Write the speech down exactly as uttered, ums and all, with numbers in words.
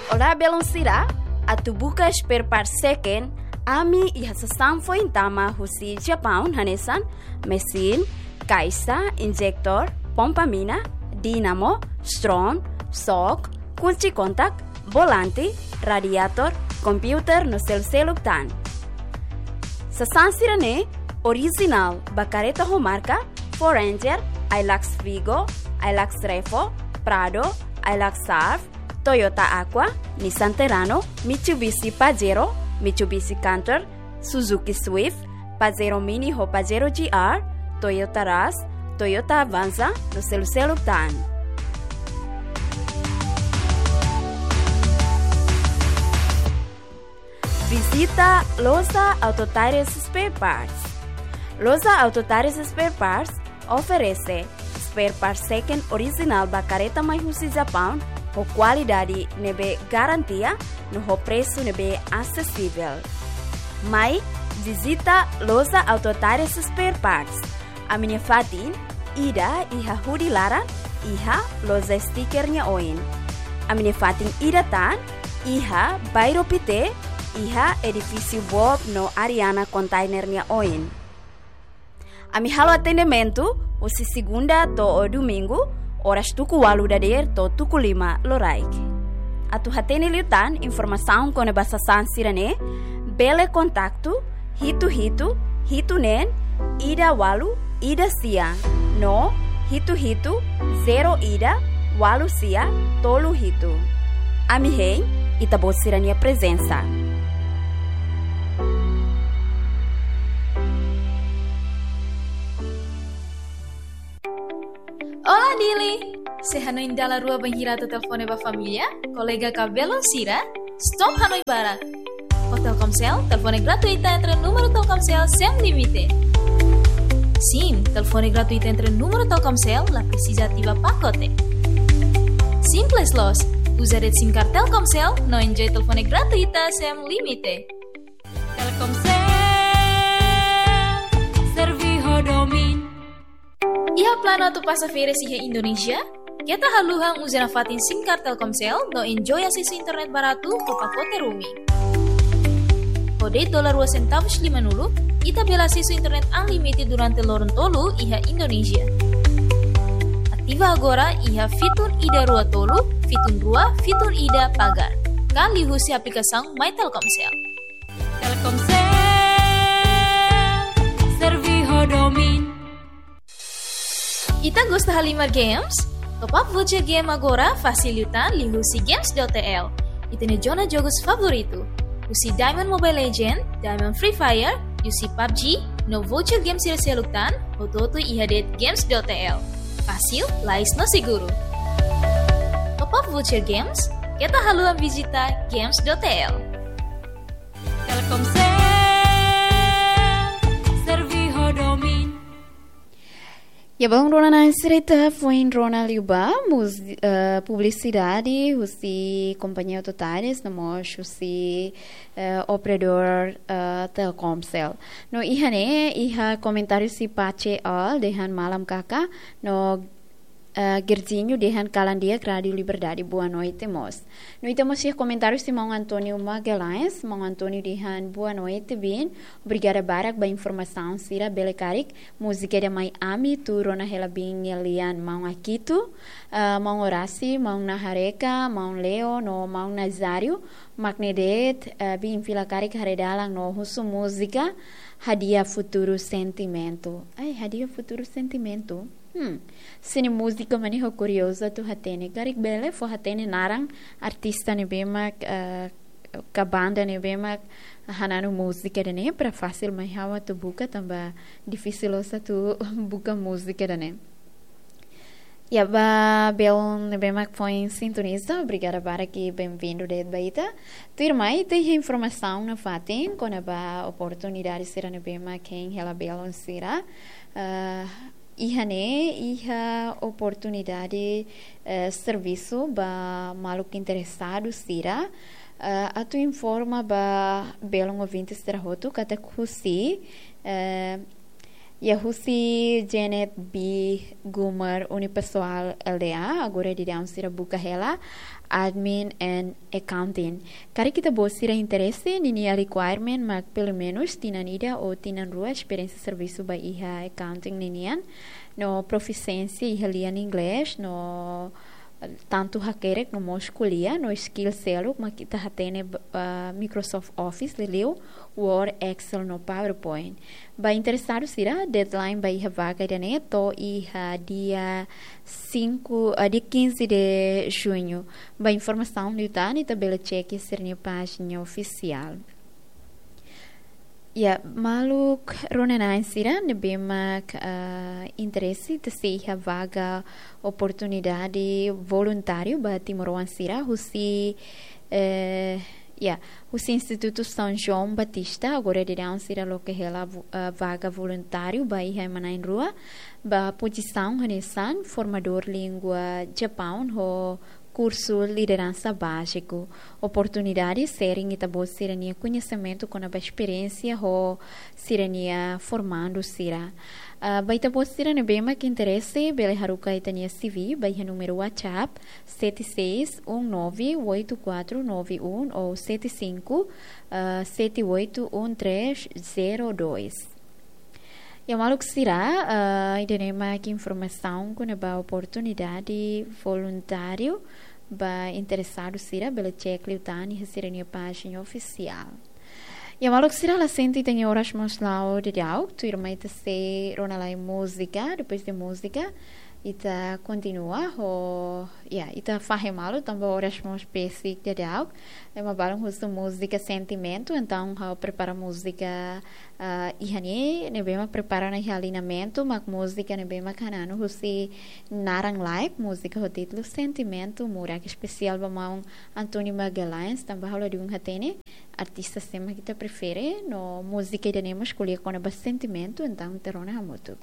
Olá, belun sira, atu buka spare part second, ami iha sasán foin tama husi Japaun hanesan mesin, kaixa, injektór, pompa mina, dínamo, stron, xok, kunci kontak, volante, radiator, kompiuter no seluk-seluk tan. Sasán sira-ne'e orijinál ba karreta ho marka Ford Ranger, Hilux Vigo, Hilux Revo, Prado, Hilux Surf, Toyota Aqua, Nissan Terrano, Mitsubishi Pajero, Mitsubishi Canter, Suzuki Swift, Pajero Mini ho Pajero G R, Toyota Rush, Toyota Avanza no seluk-seluk tan. Vizita Loja Auto Tires Spare Parts. Loja Auto Tires Spare Parts oferese spare part second orijinál ba karreta mai husi Japaun ho kualidade ne'ebé garantia no ho presu ne'ebé asesivel. Mai vizita Loja Auto Tires Spare Parts. Ami-nia fatin ida iha Hudi Laran, iha loja stiker nia oin. Ami-nia fatin ida tan iha Bairro Pité, iha edifísiu Bob no Ariana Container nia oin. Ami halo atendimentu husi segunda to'o domingu, oras tuku ualu dadeer to'o tuku lima loraik. Atu hatene liután informasaun kona-ba sasán sira-ne'e, bele kontaktu hitu hitu hitu neen ida ualu ida sia no hitu hitu zero ida ualu sia tolu hitu. Ami hein ita-boot sira-nia prezensa. Olá, Dili! Se hanoin dala rua bainhira atu telefone ba família, kolega ka belun sira, stop hanoin barak. Ho Telkomsel, telefone gratuita entre númeru Telkomsel sem limite. Sin, telefone gratuita entre númeru Telkomsel, la presiza ativa pakote. Simples loos, uza de'it SIM card Telkomsel, no enjoy telefone gratuita sem limite. Telkomsel, serve ho domin. Iha planu atu pasa férias iha Indonézia? Keta haluha uza nafatin SIM card Telkomsel no enjoy asesu internet baratu ho pakote roaming. Ho de'it dolar rua sentavus limanulu, ita bele asesu internet unlimited durante loron tolu iha Indonézia. Ativa agora iha fitun ida rua tolu, fitun rua, fitun ida pagar. Ka liuhusi aplikasaun My Telkomsel. Telkomsel, serve ho domin. Ita gosta halimar games? Top up voucher game agora fasil liután liuhusi games dot T L. Ita-nia zona jogus favoritu. Husi Diamond Mobile Legend, Diamond Free Fire, husi PUBG, no voucher game sira seluk tan, hotu-hotu iha de'it games dot T L. Fasil, lais no seguru. Top up voucher games, keta haluha vizita games dot T L. Telkomsel, serve ho domin. Ya, belun rona na'in sira ita foin rona liubá, mus-, eh, publisidade husi kompañia Auto Tires, no mós husi, eh, operadór, eh, Telkomsel. No iha ne'e, iha komentáriu husi Pache Al, dehan malam kaka, no eh, Gerzinho dehan kalan di'ak Rádio Liberdade, boa noite mós. No ita mós iha komentáriu husi maun António Magalhães, maun António dehan boa noite, bin. Obrigada barak ba informasaun sira, bele karik múzika ida mai ami, tuur ona hela bin nia lian maun Akito, eh, maun Orasi, maun Nahareka, maun Leo, no maun Nazário, mak ne'e de'it, eh, bin fila karik haree dalan no husu múzika, Hadiah Futuro Sentimento. Ai, Hadiah Futuro Sentimento. Hmm. Sira-nia múzika mak ne'e ha'u kuriozu atu hatene. Karik bele fó hatene naran artista ne'ebé mak, eh, ka banda ne'ebé mak hananu múzika ida-ne'e para fasil mai ha'u atu buka tanba difisil loos atu buka múzika ida-ne'e. Ya, ba belun ne'ebé mak foin sintoniza, obrigada barak i benvindu de'it ba ita. Tuirmai, ita iha informasaun nafatin kona-ba oportunidade sira ne'ebé mak hein hela belun sira. Eh, iha ne'e, iha oportunidade, eh, servisu ba maluk interesadu sira. Eh, atu informa ba belun ouvinte sira hotu katak husi, eh, Ya, husi Janet B Gummer Unipessoal L D A, agora daudaun sira buka hela Admin and Accounting. Karik ita-boot sira interese, ninia requirement mak pelumenus tinan ida ou tinan rua esperiénsia servisu ba iha accounting ninian, no profisiénsia iha lian inglés, no tantu hakerek no mós ko'alia, no skill seluk mak ita hatene, ah, Microsoft Office, liuliu Word, Excel no PowerPoint. Ba interesadu sira, deadline ba iha vaga ida-ne'e to'o iha dia cinco, ah, dia quinze de junho. Ba informasaun liután ita bele cek iha sira-nia pájina ofisiál. Ya, maluk rona-na'in sira ne'ebé mak, ah, interese ita sei iha vaga oportunidade voluntáriu ba timoroan sira husi, eh, ya, husi Institutu São João Batista, agora daudaun sira loke hela vo-, ah, vaga voluntáriu ba iha ema na'in-rua, ba pozisaun hanesan formadór língua Japaun ho kursu lideransa báziku. Oportunidade sharing ita-boot sira-nia koñesimentu kona-ba esperiénsia ho sira-nia formandu sira. Ah, ba ita-boot sira ne'ebé mak interese, bele haruka ita-nia C V ba iha númeru WhatsApp sete seis um nove oito quatro nove um ou sete cinco, ah, sete oito um três zero dois. Ya, maluk sira, ah, ida-ne'e mak informasaun kona-ba oportunidade voluntáriu. Ba interesadu sira bele cek liután iha sira-nia pájina ofisiál. Ya, maluk sira, la sente ita-nia oras mós la'o daudaun, tuirmai ita sei rona lai múzika, depois de múzika ita kontinua ho, ya, ita fahe malu tanba oras mós besik daudaun. Ema balun husu múzika sentimentu, entaun ha'u prepara múzika, ah, iha ne'e, ne'ebé mak prepara ona iha aliñamentu, mak múzika ne'ebé mak hananu husi naran laek, múzika ho títulu Sentimentu Murak, espesiál ba maun António Magalhães, tanba ha'u ladún hatene artista sé mak ita prefere, no múzika ida-ne'e mós ko'alia kona-ba sentimentu, entaun ita rona hamutuk.